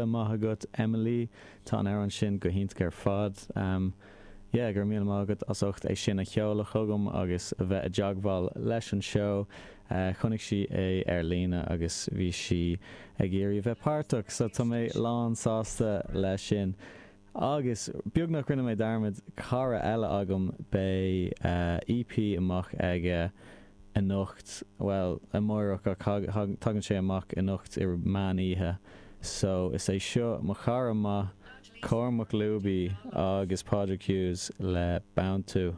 míle maith agat Emily. Tá an amhrán sin go hiontach ar fad. Yeah, go raibh míle maith agat as ucht é sin a sheoladh chugam agus a bheith i dteagmháil leis an seó. Chonaic sí é ar líne agus bhí sí ag iarraidh a bheith páirteach, so tá mé lán sásta leis sin. Agus beagnach rinne mé dearmad, cara eile agam, beidh EP amach aige anocht, bhuel, amárach ach tagann sé amach anocht i meán oíche. So, is é seo mo chara maith, Cormac Looby agus Pádraig Hughes le Beanntú.